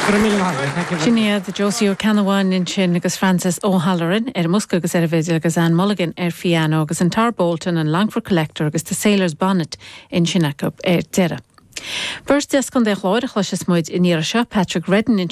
Go raibh míle maith agat. Thank you very Sin iad Josie Ó Ceannabháin ansin agus Francis O'Halloran ar an mbosca agus ar an bhfidil agus Anne Mulligan ar phiano agus an Tarbolton, an Longford Collector agus The Sailor's Bonnet ansin acu ar deireadh. Beirt as Contae an Chláir a chloisfeas muid an iarraidh seo, Patrick Reddin anseo.